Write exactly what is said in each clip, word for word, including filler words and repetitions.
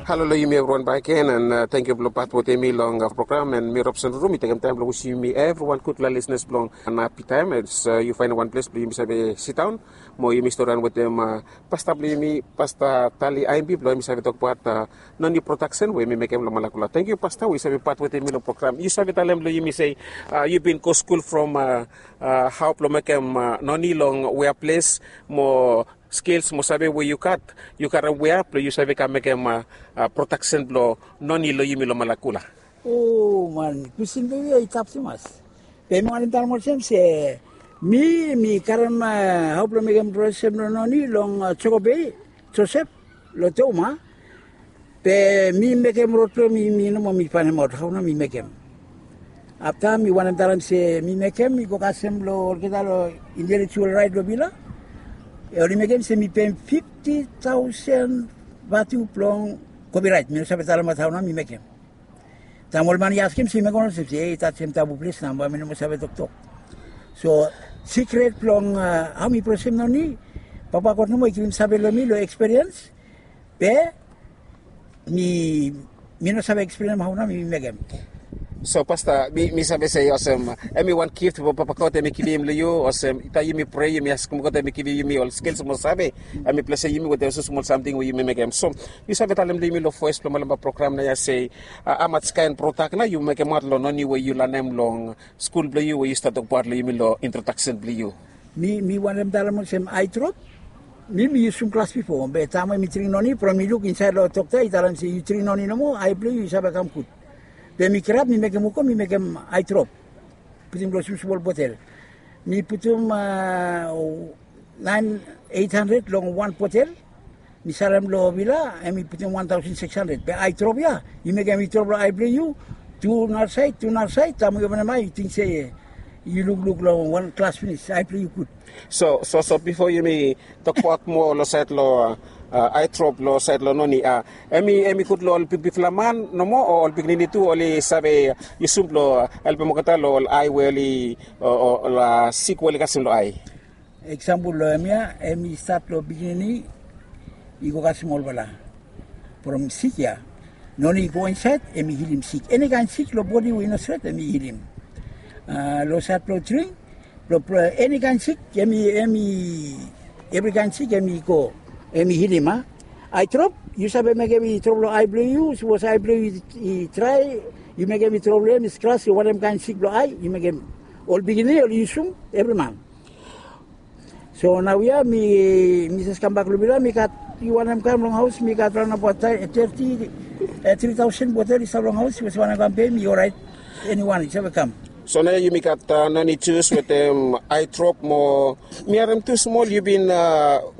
Halo long yumi evriwan bakegen, and tangkiu blong pat wetem mi long program, and mi Robson Ruru. Mi tekem taem blong wisim yumi evriwan gudfala lisnas blong wan hapi taem. Yu faenem wan ples blong yumi save sidaon mo yumi storian wetem pasta blong yumi, pasta Tali Aimbi, blong yumi save tokbaot noni prodaksen we yumi mekem long Malakula. Tangkiu pasta we yu save pat wetem mi long program. Yu save talem long yumi se yu bin go skul from hao blong mekem noni long wea ples mo skils mo save we yu gat, yu karem wea blong yu save kam mekem prodaksen blong noni long yumi long Malakula? O man, kwesten blong yu ya i tap tumas. Be mi wantem talem olsem se mi mi karem hao blong mekem prodaksen blong noni long Joko Bei, Josep, long Toma. Be mi mekem rod blong mi, mi nomo mi faenemaot hao nao mi mekem. Afta mi wantem talem se mi mekem, mi go kasem long olgeta long intelektual raet long vila. Oli mekem se mi peim fifti taosen vatu blong kopiraet. Mi no save talemaot hao nao mi mekem. Taem ol man i askem se mi mekem olsem se, ei, taem tabu ples nao bae mi no moa save toktok. So sikret blong hao mi prodasem noni, Papa God nomo i givim save long mi long ekspiriens. Be mi, mi no save eksplenem hao nao mi mekem. So pasta, mi, mi save se olsem hemi wan gift we Papa God hemi givim long yu, olsem taem yumi prea, yumi askem God hemi givim yumi ol skils mo save, hemi blesem yumi wetem olsem smol samting we yumi mekem. So yu save talem long yumi long voes blong Malaba program nao ya se hamaot kaen prodak nao yu mekemaot long noni we yu lanem long skul blong yu we yu stap tokbaot long yumi long introdaksen blong yu? Mi, mi wantem talem olsem aedrop. Mi, mi yusum glas bifo, be taem we mi dring noni, from mi luk insaed long dokta i talem se yu dring noni nomo, ae blong yu i save kam gud. Be mi kirap mi mekem wok, mi mekem aedrop. Putum long smosmol botel. Mi putum naen, eit handred long wan botel. Mi salem long vila, hemi putum wan taosen sikis handred. Be aedrop ya, yu mekem i drop long ae blong yu, tu narasaed, tu narasaed, taem we yu openem ae yu ting se yu lukluk long wan glas finis, ae blong yu gud. So, so, so bifo yumi tokbaot moa long saed long aedrop, long saed long noni, hemi, hemi gud long ol bigbigfala man nomo o ol pikinini tu oli save yusum blong helpem olgeta long ol ae we oli, o ol sik we oli kasem long ae? Eksampol long hemia, hemi stat long pikinini i go kasem olfala. From sik ya, noni i go insaed, hemi hilim sik. Enikaen sik long bodi we i no stret, hemi hilim. Long saed blong dring, blong eni kaen sik, hemi, hemi, evri kaen sik hemi go, hemi hilim a. Aedrop, yu save mekem i drop long ae blong yu, sapos ae blong yu i drae, yu mekem i drop long hem, i skras long wanem kaen sik blong ae, yu mekem. Ol pikinini oli yusum, evri man. So naoia mi, mi jes kambak long vila, mi gat, yu wantem kam long haos, mi gat raon abaot teti, tri taosen botel i stap long haos, sapos yu wantem kam pem, i oraet. Eniwan i save kam. So naoia yumi gat noni jus wetem aedrop mo mi harem tu smol yu bin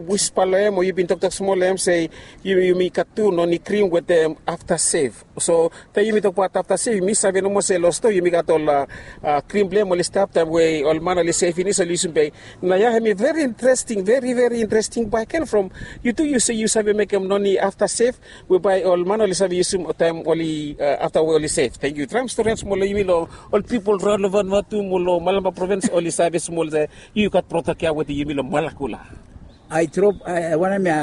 wispa long hem o yu bin toktok smol long hem se yumi gat tu noni krim wetem afta sev. So taem yumi tokbaot afta sev, yumi save nomo se long stoa yumi gat ol krim blong hem oli stap taem we ol man oli sev finis oli yusum. Be naoia hemi veri interesting, veri, veri interesting bakegen from yu tu yu se yu save mekem noni afta sev we bae ol man oli save yusum taem oli, afta we oli sev. Tangkiu. Traem storian smol long yumi long ol pipol raon long Vanuatu mo long Malampa provins oli save smol se yu gat prodak ya wetem yumi long Malakula. Aedrop, wanem ya,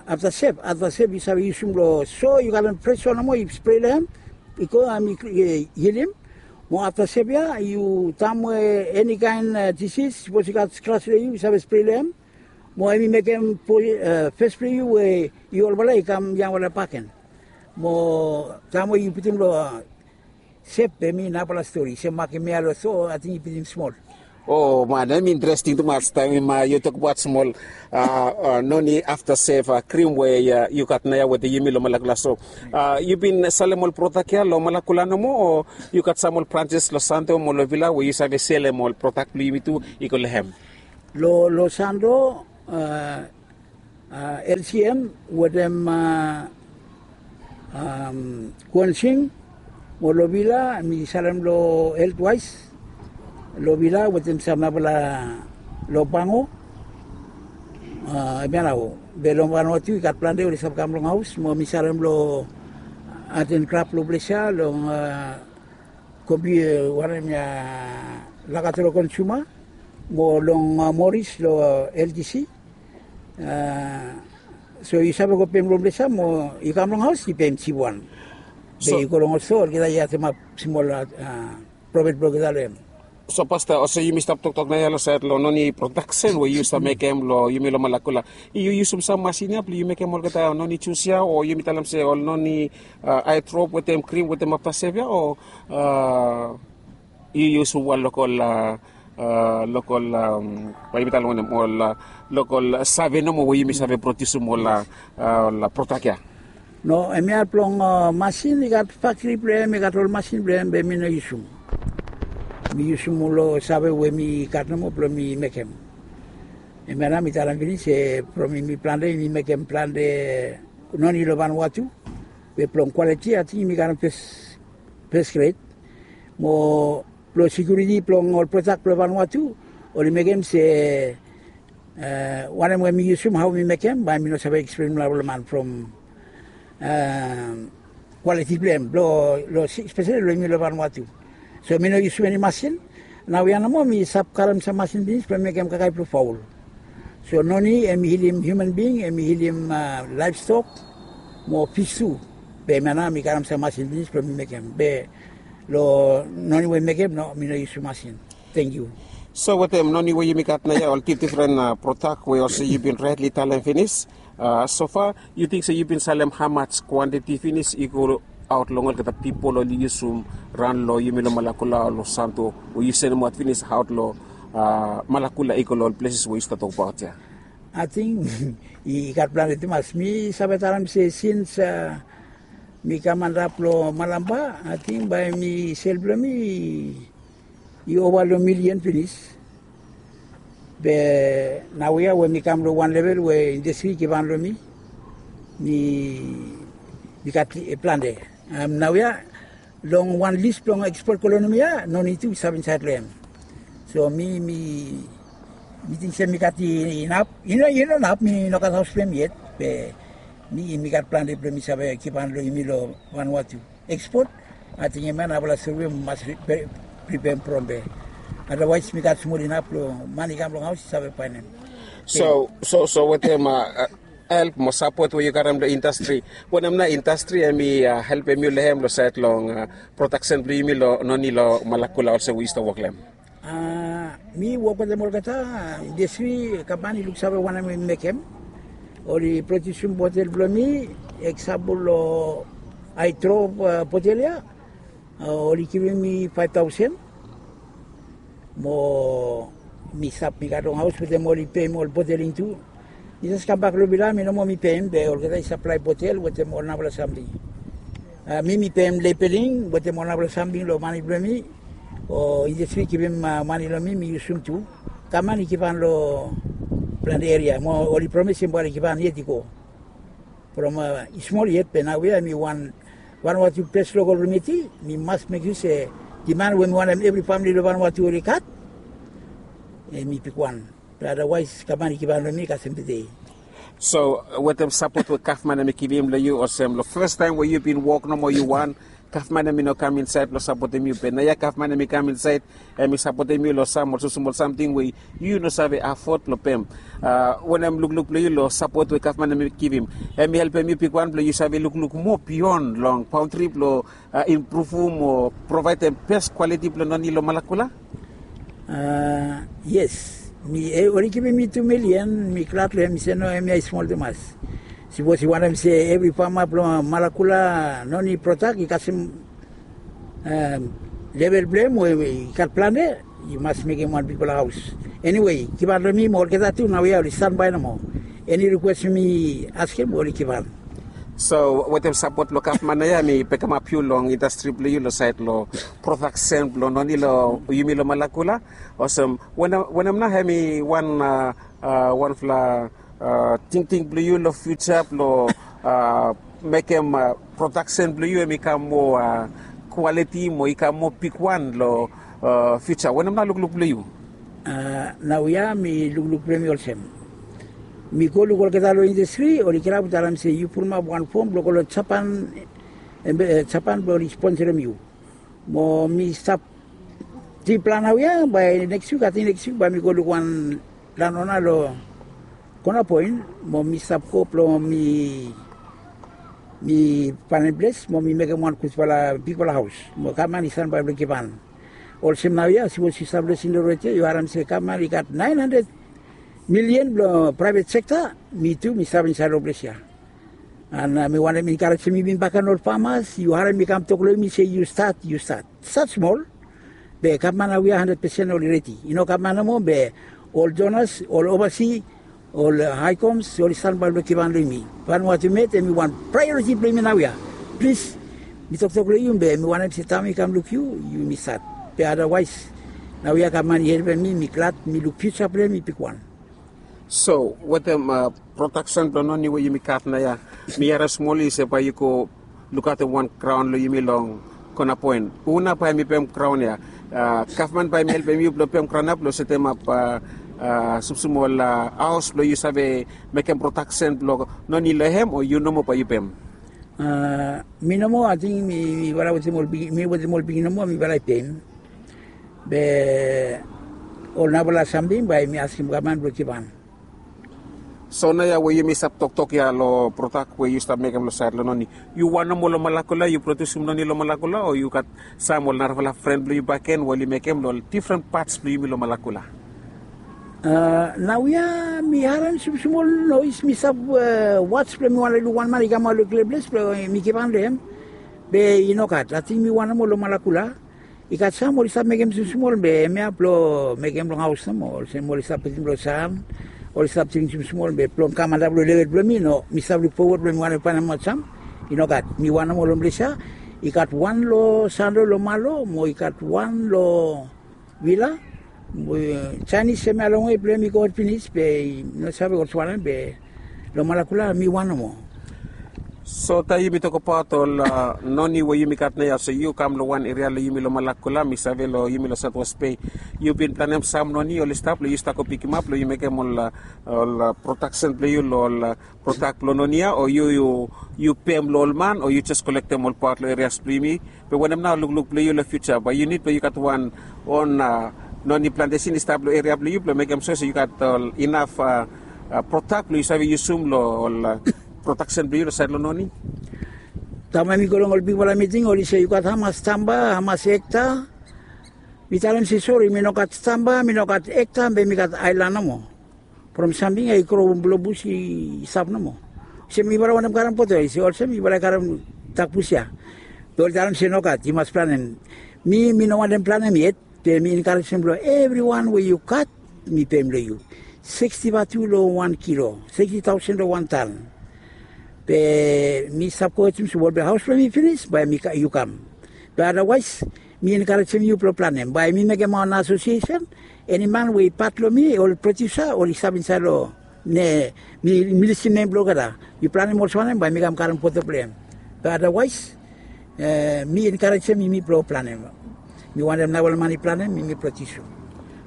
afta sev, afta sev yu save yusum long so yu gat wan fres wan nomo yu sprei long hem, i go hemi hilim. Mo afta sev ya yu taem we enikaen disis, sapos yu gat skras long yu, yu save sprei long hem. Mo hemi mekem fes blong yu we yu olfala i kam yangfala bakegen. Mo taem we yu putum long sef, be hemi nafala stori, se makem ya long so ating i putum smol. O man, hemi interesting tumas taem yu tokbaot smol noni afta sef krim we yu gat naoia wetem yumi long Malakula. So yu bin salem ol prodak ya long Malakula nomo o yu gat sam ol branjes long Santo mo long Vila we yu save selem ol prodak blong yumi tu i go long hem? Long, long Santo, LCM wetem Kuensing mo long Vila mi salem long Health Wise, long Vila wetem sam nafala long Pango. Hemia nao, be long Vanuatu i gat plante oli save kam long haos mo mi salem long Art and Craft long ples ya, long Kompi, wanem ya, Lakatoro Consumer mo long Morris long LTC. So yu save go pem long ples ya mo yu kam long haos yu pem jipwan. Be yu go long ol stoa olgeta yu atemap smol profit blong olgeta long em. So pasta, olsem yumi stap toktok naoia long saed long noni prodaksen we yu stap mekem long yumi long Malakula, yu yusum sam masin ya blong yu mekem olgeta noni jus ya o yumi talem se ol noni aetrop wetem krim wetem aftasev ya o yu yusum wan lokol lokol bae yumi talem wanem ol lokol save nomo we yumi save prodiusim ol ol prodak ya? No, hemia blong masin i gat faktri blong hem, i gat ol masin blong hem be mi no yusum. Mi yusum ol save we mi gat nomo blong mi mekem. Hemia nao mi talem finis se from yumi plante yumi mekem plante noni long Vanuatu. Be blong kwaliti ating yumi karem fes gret. Mo blong sekiuriti blong ol prodak blong Vanuatu oli mekem se wanem we mi yusum hao mi mekem bae mi no save eksplenem long ol man from kwaliti blong hem long speseli long yumi long Vanuatu. So mi no yusum eni masin. Naoia nomo mi stap karem sam masin pinis blong mekem kakae blong faol. So noni hem i hilim hiuman bing, hem i hilim laevstok mo fis tu. Be hemia nao mi karem sam masin pinis blong mi mekem be long noni we mekem no mi no yusum masin. Tangkiu. So wetem noni we yumi gat naoia ol difdifren prodak we olsem yu bin raetli talem finis, sofa yu ting se yu bin salem hamaj kwantiti finis i go aot long olgeta pipol oli yusum raon long yumi long Malakula o long Santo we yu sendemaot finis aot long Malakula i go long ol pleses we yu stap tokbaot ya? Ating i gat plante tumas. Mi save talem se sins mi kam antap long Malampa ating bae mi sel blong mi i ova long milian finis. Be naoia we mi kam long wan level we indastri i givhan long mi, mi gat plante. Naoia long wan lis blong ekspot kolonom ya noni tu i stap insaed long hem. So mi mi mi ting se mi gat inap, i no inap, mi no gat haos blong hem yet. Be mi mi gat plante blong mi save givhan long yumi long Vanuatu. Ekspot ating hemia nao ol stori we mi mas pripem from be. Adawaes mi gat smol inap blong man i kam long haos i save baenem. So so so wetem help mo sapot we yu karem long indastri, wanem nao indastri hem i helpem yu long hem long saed long prodaksen blong yumi long noni long Malakula olsem we yu stap wok long hem? Mi wok wetem olgeta indastri, gavman i luksave wanem mi mekem. Oli prodiusim botel blong mi, eksampol long aedrop botel ya, oli givim mi faef taosen. Mo mi stap mi gat long haos wetem oli peim ol boteling tu. Mi jes kambak long vila mi nomo mi peim be olgeta i saplae botel wetem ol nambala samting. Mi mi peim lebeling wetem ol nambala samting long mane blong mi. O indastri i givim mane long mi mi yusum tu. Gavman i givhan long plante eria mo oli promisim bae oli givhan yet i go. From i smol yet be naoia mi wan wan watu ples lokol rumiti mi mas mekim se diman we mi wantem evri famili long Vanuatu oli gat. Hem i bigwan. Be adawaes gavman i givhan long mi kasem tede. So wetem sapot we gavman hem i givim long yu olsem long fastaem we yu bin wok nomo yu wan, gavman hem i no kam insaed blong sapotem yu be naoia gavman hem i kam insaed hem i sapotem yu long sam ol smosmol samting we yu no save afod blong pem. Wanem lukluk blong yu long sapot we gavman hem i givim? Hem i helpem yu bigwan blong yu save lukluk moa bion long baontri blong impruvum o provaedem bes kwaliti blong noni long Malakula? Yes, mi oli givim mi tu milian mi glad long hem mi se no hemia i smol tumas. Sipos yu wantem se evri fama blong Malakula noni prodak i kasem level blong hem we i gat plante, yu mas mekem wan bigfala haos. Eniwe givhan long mi mo olgeta tu naoia oli stanbae nomo. Eni rikwes mi askem oli givhan. So wetem sapot blong gavman naoia mi bekemap yu long indastri blong yu long saed long prodaksen blong noni long yumi long Malakula. Olsem wanem nao hem i wan wanfala tingting blong yu long fiuja blong mekem prodaksen blong yu hem i kam moa kwaliti mo i kam moa bigwan long fiuja? Wanem nao lukluk blong yu? Naoia mi lukluk blong mi olsem, mi go luk olgeta long indastri oli kirap talem se yu pulumap wan fom blong go long Japan blong oli sponsorem yu. Mo mi stap tripela naoia bae neks wik ating neks wik bae mi go luk wan lanona long Kona poen mo mi stap go blong mi mi panen ples mo mi mekem wan gudfala bigfala haos mo gavman i sanbae blong givhan. Olsem naoia sipos yu stap lesin long redio yu harim se gavman i gat naen handred milian blong praevet sekta, mi tu mi stap insaed long ples ya. An mi wantem enkarejem yumi bakegen ol famas, yu harim mi kam tok long yumi se yu stat, yu stat, stat smol. Be gavman naoia handred pesen oli redi. I no gavman nomo be ol donas, ol ovasi, ol haikoms oli stanbae blong givhan long yumi. Vanua tu met em i wan praeoriti blong yumi naoia. Plis, mi toktok long yu be mi wantem se taem mi kam luk yu, yumi stat. Be adawaes naoia gavman i helpem mi, mi glad, mi luk fiuja blong hem i bigwan. So wetem prodaksen blong noni we yumi gat naoia, mi harim smol i se bae yu go lukaotem wan graon long yumi long kona poen. Hu nao bae mi pem graon ya? Gavman bae mi helpem yu blong pem graon ya blong setemap sumsum ol haos blong yu save mekem prodaksen blong noni long hem, o yu nomo bae yu pem? Mi nomo, ating mi bae wetem ol pikinini nomo, mi bae pem. Be ol nafala samting bae mi askem gavman blong givhan. So naoia we yumi stap toktok ya long prodak we yu stap mekem long saed long noni, yu wan nomo long Malakula, yu produsim noni long Malakula, o yu gat sam ol narafala fren blong yu bakegen we oli mekem long ol difren pats blong yumi long Malakula? Naoia mi harim sumsum ol noes, mi stap was blong mi wantem luk wan man i kamaot long klia ples blong mi givhan long hem. Be i nogat, ating mi wan nomo long Malakula. I gat sam oli stap mekem sumsumol be hemia blong mekem long haos nomo, olsem oli stap putum long san, oli stap dring sumsumol be blong kam antap long level blong mi, no, mi stap luk fowod blong mi wantem faenemaot sam. I nogat, mi wan nomo long ples ya. I gat wan long Sanlo long Malo mo i gat wan long Vila. Jaenis hemia longwe blong hem i gohed finis be i no save olsem wanem be long Malakula mi wan nomo. So taem yumi tokbaot ol noni we yumi gat naoia, so yu kam long wan eria long yumi long Malakula, mi save long yumi long Saotwes Bei, yu bin planem sam noni oli stap blong yu stap go pikimap blong yu mekem ol prodaksen blong yu long ol prodak blong noni ya, o yu yu pem long ol man, o yu jes kolektem ol paot long erias blong yumi? Be wanem nao lukluk blong yu long fiuja, bae yu nid blong yu gat wan on noni plantesin i stap long eria blong yu blong mekem sua se yu gat ol inaf prodak blong yu save yusum long ol prodaksen blong yu long saed long noni? Taem we mi go long ol bigfala miting oli se yu gat hamas tamba, hamas ekta. Mi talem se sori, mi no gat tamba, mi no gat ekta, be mi gat aelan nomo. From samting ya i gro blong bus i stap nomo. Olsem yufala wantem karem poto, i se olsem yufala i karem dak bus ya. Be oli talem se nogat, yu mas planem. Mi mi no wantem planem yet. Be mi enkarejem blong evriwan we yu gat, mi pem long yu. Siksti vatu long wan kilo, siksti taosen long wan tan. Be mi stap go wetem sumol be haos blong mi finis bae yu kam. Be adawaes mi enkarejem yu blong planem, bae mi mekem wan asosiesen. Eni man we i pat long mi, ol prodiusa oli stap insaed long ne mi lisim nem blong olgeta. Yu planem olsem wanem bae mi kam karem poto blong hem. Be adawaes mi enkarejem yumi blong planem. Mi wantem nao ol man i planem, mi mi prodiusim.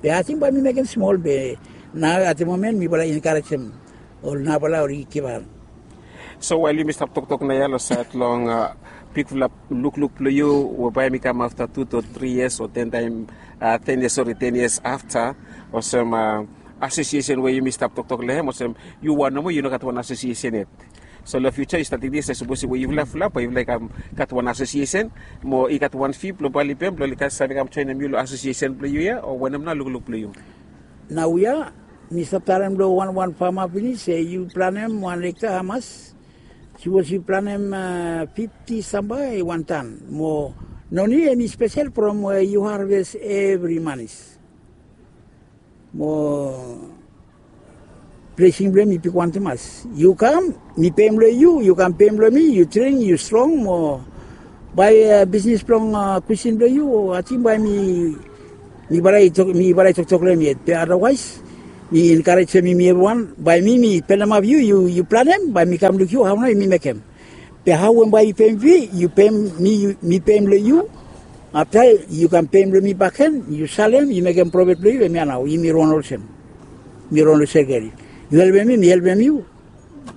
Be ating bae mi mekem smol be nao at the moment mifala i enkarejem ol nafala oli givhan. So wael yumi stap toktok naoia long saed long bigfala lukluk blong yu we bae mi kam afta tu to tri yias o ten taem, ten yias, sori, ten yias afta, olsem asosiesen we yumi stap toktok long hem, olsem yu wan nomo, yu no gat wan asosiesen yet. So long fiuja yu stat tingting se sapos we yufala fulap bae yufala i kam gat wan asosiesen mo i gat wan fi blong bae oli pem blong oli save kam joenem yu long asosiesen blong yu ya, o wanem nao lukluk blong yu? Naoia mi stap talem long wanwan fama finis se yu planem wan ekta hamas. Sapos yu planem fifti tamba i wan tan. Mo noni hem i spesel from we yu harves evri manis. Mo blesing blong hem i bigwan tumas. Yu kam, mi pem long yu, yu kam pem long mi, yu dring, yu strong mo bae bisnis blong kusin blong yu, ating bae mi mifala i toktok long hem yet. Be adawaes mi enkarejem yumi evriwan, bae mi mi pelemap yu, yu planem bae mi kam luk yu hao nao yumi mekem. Be hao we bae yu pem fi, yu pem mi, mi pem long yu. Afta yu kam pem long mi bakegen, yu salem, yu mekem profet blong yu, hemia nao yumi ron olsem. Mi ron long sekeri. Yu helpem mi, mi helpem yu.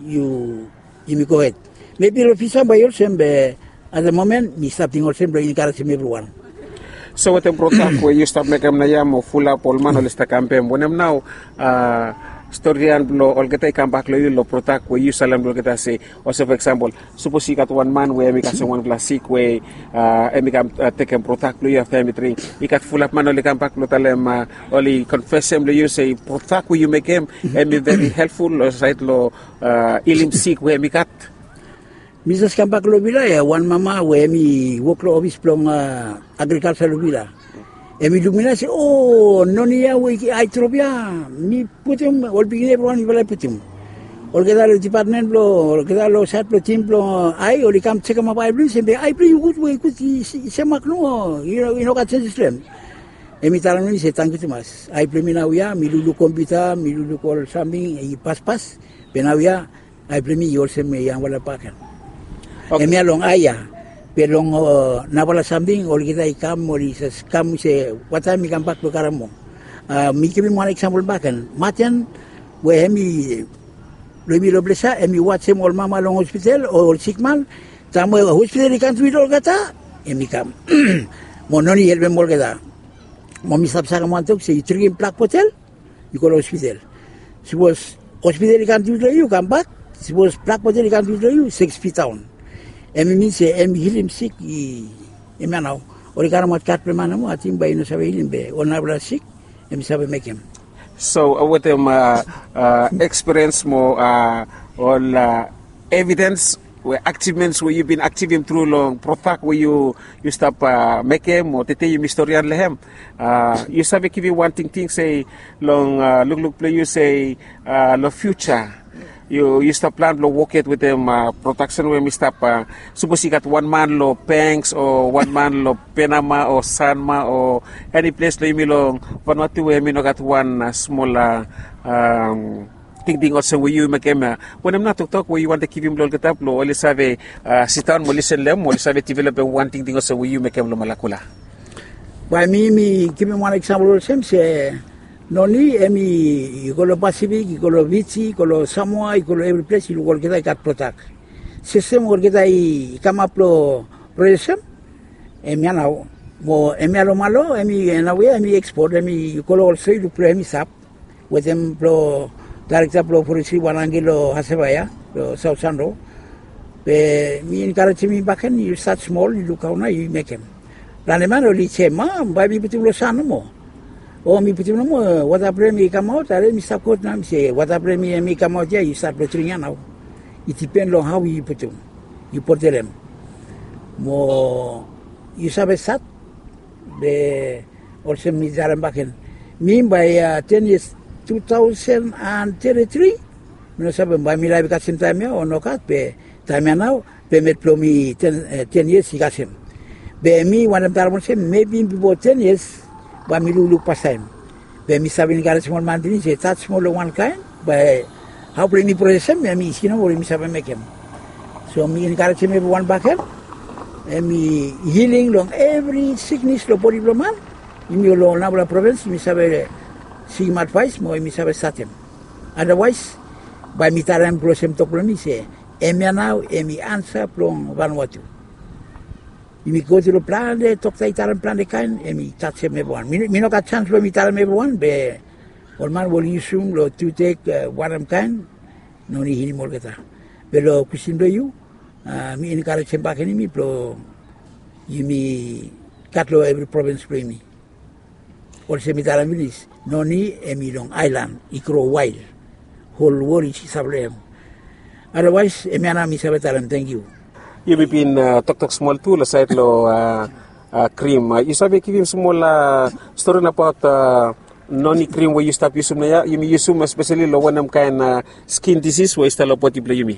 Yu yumi gohed. Mebi long fiuja bae i olsem be at the moment mi stap ting olsem blong enkarejem evriwan. So wetem prodak we yu stap mekem naoia mo fulap ol man oli stap kam pem, wanem nao Storian blong olgeta i kambak long yu long prodak we yu salem long olgeta se, olsem fo eksampol, sapos i gat wan man we em i kasem wanpela sik we em i kam tekem prodak blong yu afta em i dring, i gat fulap man oli kambak long talem, oli konfesem long yu se prodak we yu mekem em i veri helpful long sait long hilim sik we em i gat. Mi jes kambak long vila ya, wan mama we em i wok long ofis blong agrikalsa long vila. Em i luk mi na se, o, noni ya we ai drop ya, mi putim, ol pikinini evriwan mifala i putim. Olgeta long dipatmen blong olgeta long sait blong tim blong ai oli kam sekemap ai blong yu se be ai blong yu gud we i gud i semak nomo, i no gat senses long em. Em i talem long mi se tangkiu tumas, ai blong mi nau ya mi lukluk kompiuta, mi lukluk ol samting i paspas, be nau ya ai blong mi i olsem yangfala baken. Em ya long ai ya. Be long nafala samting olgeta i kam oli jes kam se wataem mi kambak blong karem moa. Mi givim wan eksampol baken maten we em i long mi long ples ya em i wajem ol mama long hospital o ol sikman. Taem we hospital i kam tui long olgeta em i kam mo noni i helpem olgeta. Mo mi stap sakem wan tok se yu dringim blak botel, yu go long hospital. Sipos hospital i kam tui long yu kambak, sipos blak botel i kam tui long yu seks fitaon. Em i min se em i hilim sik i em ya nao. Oli karemaot gat blong man nomo ating bai i no save hilim be ol narafala sik em i save mekem. So wetem ekspiriens mo ol evidens we aksivmens we yu bin aksivim tru long prodak we yu stap mekem o tete yumi storian long em, yu save givim wan tingting se long lukluk blong yu se long fiuja yu stap plan blong woked wetem prodaksen we mi stap, sapos i gat wan man long bengs o wan man long penama o sanma o eni ples long yumi long vanua tu we mi no gat wan smol tingting olsem we yu mekem ya. Wanem na toktok we yu wantem givim long olgeta blong oli save sidaon mo lisen long em mo oli save developem wan tingting olsem we yu mekem long malakula? Bae mi mi givim wan eksampol olsem se noni em i go long pasifik, i go long fiji, i go long samoa, i go long evri ples i luk olgeta i gat prodak. Sistem olgeta i kamap long proesem em ya nao. Mo em ya long malo em i nao ya em i ekspot em i go long ol stori luk blong em i stap wetem blong daerekta blong forestri wan angel long haseva ya long saut sanro. Be mi enkarejem yu baken yu stat smol yu luk hao nao yu mekem. Plante man oli sem a bae mi putum long san nomo o mi putum nomo wata blong em i kamaot are mi stap god nao mi se wata blong em i kamaot ya yu stat blong dring ya nao. I dipen long hao yu putum yu botelem mo yu save stat. Be olsem mi talem baken mi bae ten yias tu tausen an teti tri. Mi no save bae mi laef i kasem taem ya o nogat be taem ya nao be met blong mi ten yias i kasem. Be mi wantem talem olsem mebi bipo ten yias bae mi lukluk pastaem. Be mi save enkarejem ol man pinis se stat smol long wankaen bae hao blong yumi prosesem em i isi nao we yumi save mekem. So mi enkarejem evriwan baken em i hiling long evri siknis long bodi blong man. Yumi ol long ol nambala provins yumi save sikim advaes mo yumi save statem. Adawaes bae mi talem blong olsem tok blong mi se em ya nao em i ansa blong vanua tu. Yumi go tru long plante dokta i talem plante kaen em i tajem evriwan. Mi no gat jans blong mi talem evriwan be ol man we oli yusum long tutek wanem kaen no ni hilim olgeta. Be long kwestin blong yu mi enkarejem baken yumi blong yumi gat long evri provins blong yumi. Olsem mi talem pinis noni em i long aelan i gro wael. Hol wol i save long em. Adawaes em ya nao mi save talem tangkiu. Yumi bin toktok smol tu long sait long krim yu save givim smol stori nabaot noni krim we yu stap yusum nao ya yumi yusum espeseli long wanem kaen skin disis we i stap long bodi blong yumi?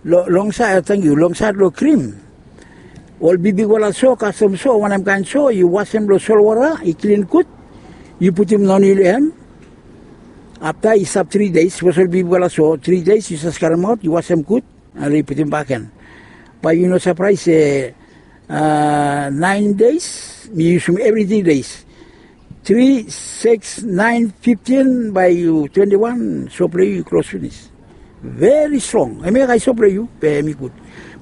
Long sait tangkiu long sait long krim ol bigbigwala so kastom so wanem kaen so yu wasem long solwara i klin gud. Yu putum noni long em afta i stap tri deis sapos ol bigbigwala so tri deis yu sas karemaot yu wasem gud. Ari putum baken bae yu no sapraes se naen deis mi yusum evri tri deis. Tri siks naen fiftin bae yu twenti wan sop long yu i klos finis. Veri strong em ya gat sop long yu be em i gud.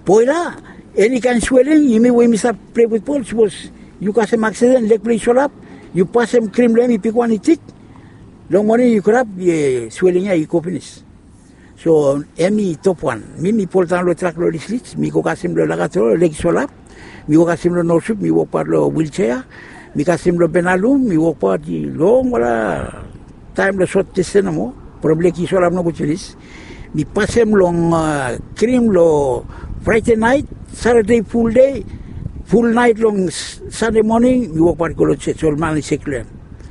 Boela eni kaen sweling yumi we yumi stap plei futbol sapos yu kasem aksiden leg blong yu solap yu pasem krim long em i bigwan i tik. Long moning yu krap, swelling ya i go pinis. So em i top wan. Mi mi poldaon long trak long lislis, mi go kasem long lakato leki solap, mi go kasem long nosup, mi wokbaot long wilsea, mi kasem long benalum, mi wokbaot i longwala taem long sot disten nomo. From leki solap nogut pinis, mi pasem long krim long fraide naet, satade fuldei, fulnaet long sande moning, mi wokbaot i go long ses ol man i sek long em.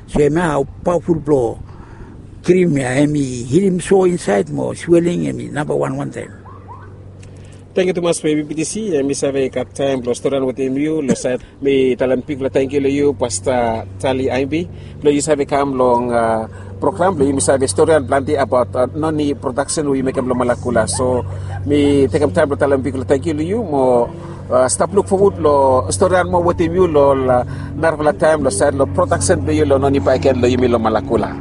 So em ya hao paoful blong krim ya, em i hilim so insaed mo sweling em i namba wan wantaem. Tangkiu tumas we bibitisi em i save gat taem blong storian wetem yu long saed. Mi talem bigfala tangkiu long yu pasta tali aimbi blong yu save kam long program blong yumi save storian planti abaot noni prodaksen we yu mekem long malakula. So mi tekem taem blong talem bigfala tangkiu long yu mo stap luk fowod long storian moa wetem yu long ol narafala taem long saed long prodaksen blong yu long noni baeken long yumi long malakula.